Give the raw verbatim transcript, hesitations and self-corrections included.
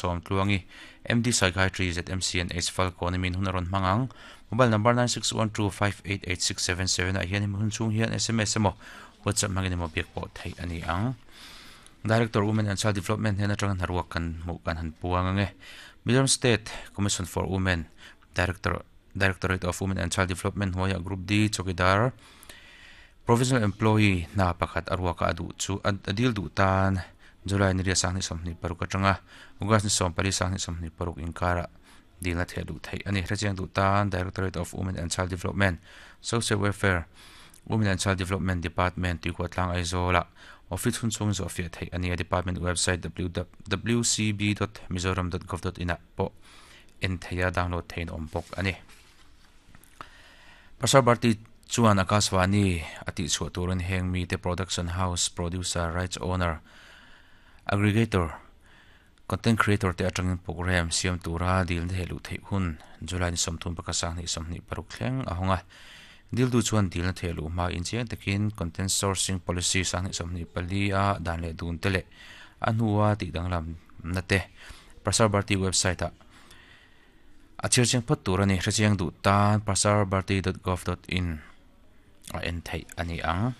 Sawmtluangi M D Psychiatry Z M C N H Falkawn min hun a rawn hmang ang. Mobile number nine six one two five eight eight six seven seven ah hian hun chhung hian S M S emaw WhatsApp hmangin emaw biak pawh theih ani ang. Director, Women and Child Development hian atanga hnaruak kan hmuh kan han puang ange. Mizoram State Commission for Women, Director, Directorate of Women and Child Development hnuaiah Group D Chowkidar Provisional Employee hna pakhat aruaka adu chu adil du tan July ni ria sang ni sawmhnih paruk atanga August ni sawm pali sang ni sawmhnih paruk inkara dilna theh du thei ani. Hrechiang du tan Directorate of Women and Child Development, Social Welfare, Women and Child Development Department, Tuikhuahtlang, Aizawla office hun chung zo fiah thei ani. A department website w w c b dot mizoram dot gov dot in ah pawh en theia download thein awm bawk ani. Prasar Bharati chuan Akashvani ati chhuah turin heng mi te production house, producer, rights owner, aggregator, content creator te atangin program siam tura dil the lu thei hun July ni sawmthum pakhat sang ni sawmhnih paruk thleng a hawnga. Dil du chuan dil na the lu ma in chiang takin content sourcing policy sang ni sawmhnih pali a dan le dun te le a hnuwa ti danglam na te Prasar Bharati website a a chir chiang phot tur ani. Hrechiang du tan prasarbharati dot gov dot in a en thei ani ang.